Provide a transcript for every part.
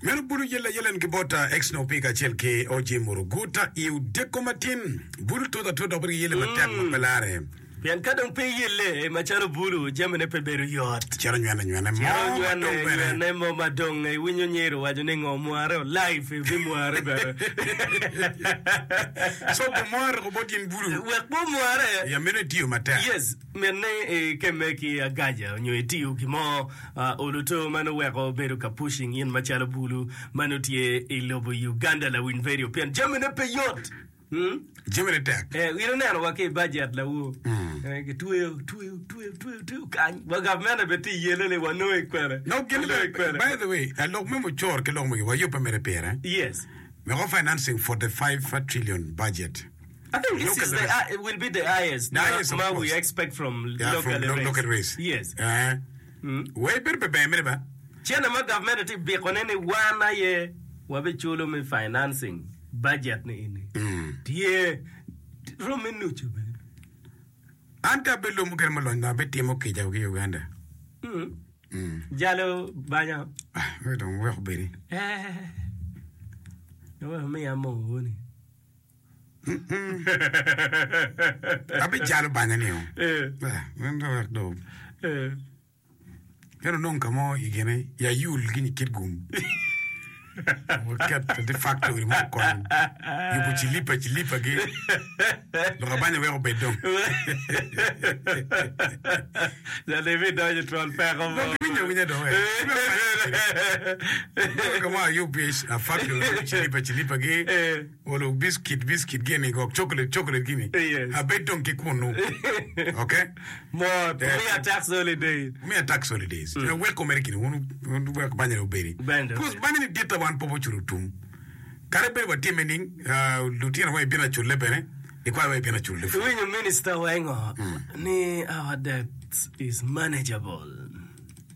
Meno bulu yelle ayela en ki bot Xno P kacel ki OG Muruguta i odiko matin. Bulu tut atut dok bedo ki yelle matek ma pe lare. Pien ka dong pe iyelle macalo bulu, jamine pe bedo yot. Cito nywene nywene mo Cito ma nywene dong bene. nywene mo ma dong iwinyo nyero waco ni ngo mware o life ibimware bene. So bumware ko bot in bulu. Wek bumware. Ya meno itiyo matek. Yes, mit ni ikemme ki agaja onyo itiyo gin mo oluto ma nongo weko bedo ka pushing in macalo bulu ma nongo tye i lobo Uganda lawiny radio pien jamine pe yot. Jamine tek. Eh, in oneno wa ki i bajet lawu. Eh, kitweyo, tweyo, tweyo, tweyo, tweyo kany. Wa gavmente bene tye i yelle ni wanongo i kwene. No, gin Wanongo i kwene. By the way, eh, lok me mucoro ki lok magi wayubbe mere pire. Yes. Weko financing 45 trillion budget. I think this Local is the, race. uh, it will be the highest The highest, of ma we course. expect from Yeah, local from lo- race. local race. Yes. Eh. Wei bedo pe ber mere ba. Cene ma gavmente tye bikone ni wan aye wabiculo me financing budget ni eni tye romme nucu bene. An ka abedo lobo mukene mulony dong abitimo kica ki Uganda. Jalo banya. Ah, wek dong wek obedi. Eh, wek omiya moo woni. Abijalo banya ni o. Eh. Ah, wek dong. Eh. Ento onongo ka mo i gine i ayul ki i Kitgum waket ati factory mo okony yubo cilipa cilipa gi lok abanya wek obed dong. Jal ibidonyo i twon peko mo. Dong giwinyo awinya dong eh. Onongo ka mo ayub i factory yubo cilipa cilipa gi olo biscuit biscuit gini gok chocolate chocolate gini Yes. abed dong ki kunu. Okay? Mot, Wumiya tax holidays. Wumiya tax holidays. Mm. Weko mere kini wun wun wek banya ni obedi. Banya Because obedi. banya ni ditta wan pe waculo tum. Kadi bed watime ning, uh, lutino wa ibino aculle bene, likwayo wa ibino aculle pud. Iwinyo minister wa ingo ni our debt is manageable.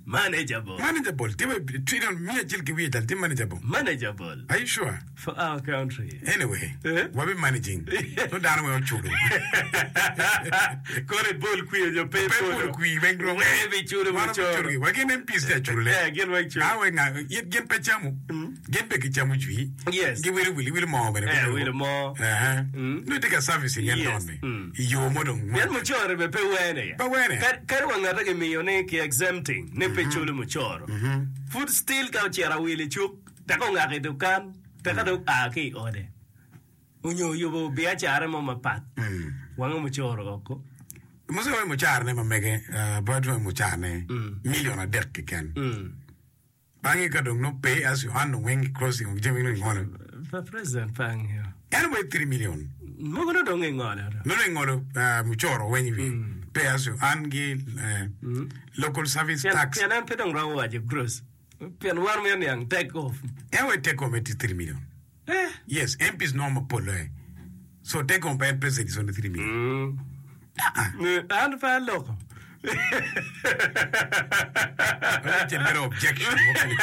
Manageable. Manageable. Tye wa trillion miya acel ki wiye cal tye manageable. Manageable. Are you sure? For our country. Anyway, Eh? wabi managing. So dano weng oculo. Koro ibol kwir nyo pe Pe ibolo. bolo kwir weng dong. Weng ibiculo Wan mucoro. wabiculo gi. Wa gin MPs tye aculole. Eh, gin weng culo. Nga weng nga, it gin pe camo. Gin pe gicamo jwi. Yes. Giwilo wil, iwilo moo bene. Eh, wilo moo. Eh. Mm. Nongo itye ka servicing en Yes. don-ni. Mm. I yo mo dong. Pien mucoro bene pe wene. Pe wene. Kadi, kadi wa ngate gimiyo ni ki exempting ni pe culo mucoro. Pud still ka ocito awil i cuk, teka ongako i dukan, teka dong oa ki i ode, onyo oyubo biacara mo mapat, wange mucoro oko. Muca wa i mucarane ma mege, uh, bad wa i mucarane million adek keken. Bange ka dong nongo pay as you earn dong weng crossing of jami nongo ingolo. Pa president pe angeyo. En wa i 3 million. Mogo nongo dong ingolo. Nongo ingolo uh, mucoro weng i wiye. Pay as you earn gi uh, local service Pien, tax. pien en pe dong romo waco gross. Pien wan mito niang take off. En wa i take home tye 3 million. Eh. Yes, MPs nongo mapol loye. So take home pa en president is only 3 million. An pe aloko. Richard bedo objection mukene.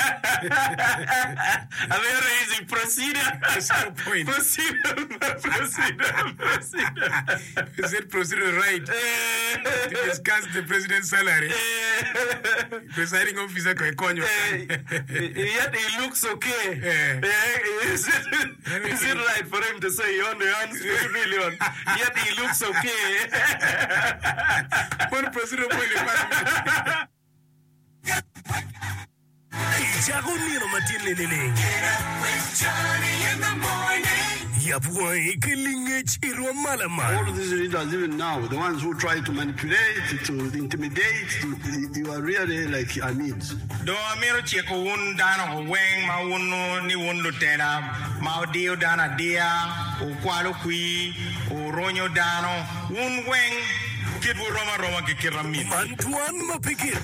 Amito raising procedure. Procedural point. Procedure, procedure, procedure. Is it procedural right to discuss the president's salary? Presiding officer ko ikonyo. Yet he looks okay. Eh. Eh, is it, is it right for him to say he only earns 3 million? Yet he looks okay. Mon procedural point ni par. Icako nino matin-ni nining? Yab wangi ki lingec i rwom ma lamal. All these leaders even now, the ones who try to manipulate, to intimidate, to, you are really like Amids. Dong amito ciko wun dano weng ma wunnu ni wun lutela ma wudiyo dano adiya, wukwalo kwir, wurunyo dano, wun weng kitwu rom aroma ki kit amit. Man twan ma pe gik.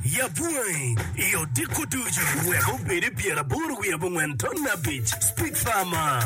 Yab wangi i odiko ducu wek obed i pyeraboro wiye abongwen ton abic. Speak Farmer.